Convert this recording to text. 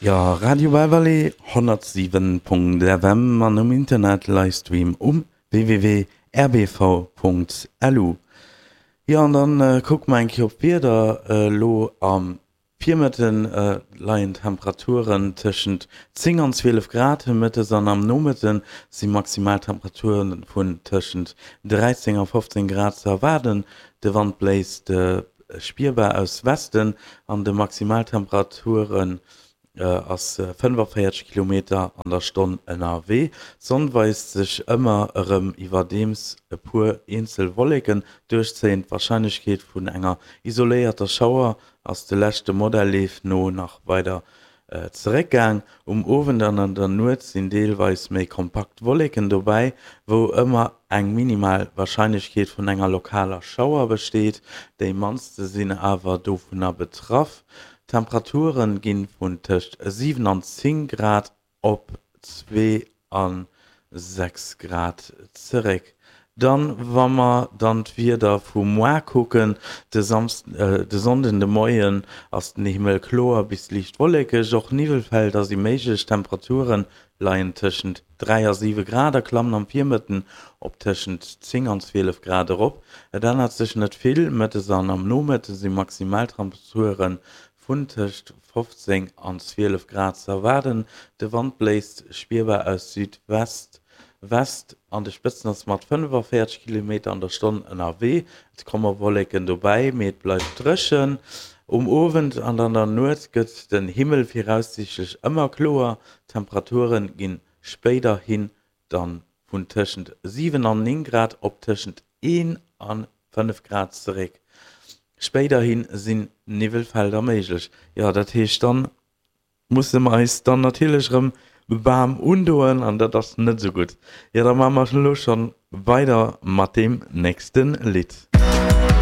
Jo, Radio Belval 107.fm an um Internet Livestream um www.rbv.lu. Jo, an dann kucke mer eng Kéier op d'Wieder. Elo am Virmëtten leien d'Temperaturen tëschent 10 an 12 Grad, mëttes an am Nomëtte si Maximaltemperature vun tëschent 13 a 15 Grad ze erwaarden. De Wand bléist spierbar aus Westen an de Maximaltemperaturen ass 45 Kilometer an der Stonn ënnerwee. D'Sonn weist sech ëmmer erëm, iwwerdeems e puer eenzel Wolleken duerchzéien. D'Warscheinlechkeet vun enger isoléierter Schauer ass de leschte Modellleef no nach weider zeréckgaang. Um Owend an an der Nuet sinn deelweis méi kompakt Wolleken dobäi, wou ëmmer eng minimal Warscheinlechkeet vun enger lokaler Schauer besteet. Déi mannste sinn awer dovunner betraff. D'Temperature gi vun tëscht 7 an 10 Grad op 2 a 6 Grad zeréck. Dann, wa mer dann d'Wieder vu moar kucken, de de Sonnden de Moien ass den Himmel kloer bis liicht wollekeg, och Niwwelfelder si méiglech. D'Temperature leien tëschent 3 a 7 Grad a klammen am Virmëtten op tëschent 10 an 12 Grad erop. Et ännert sech net vill, mëttes an am Nomëtte si Maximaltemperature vun tëscht 15 an 12 Grad ze erwaarden. De Wand bléist spierbar aus Südwest, West, an de Spëtzen ass mat 45 Kilometer an der Stonn ënnerwee. Et komme Wolleken dobäi, mee et bleift dréchen. Um Owend an an der Nuet gëtt den Himmel viraussiichtlech ëmmer kloer, d'Temperature ginn spéiderhin dann vun tëschent 7 an 9 Grad op tëschent 1 a 5 Grad zeréck. Spéiderhi sinn Niwwelfelder méiglech. Jo, dat heescht dann musse mer eis dann natierlech erëm waarm undoen an dat ass net esou gutt. Jo, da maache mer elo schonn weider mat deem nächste Lidd.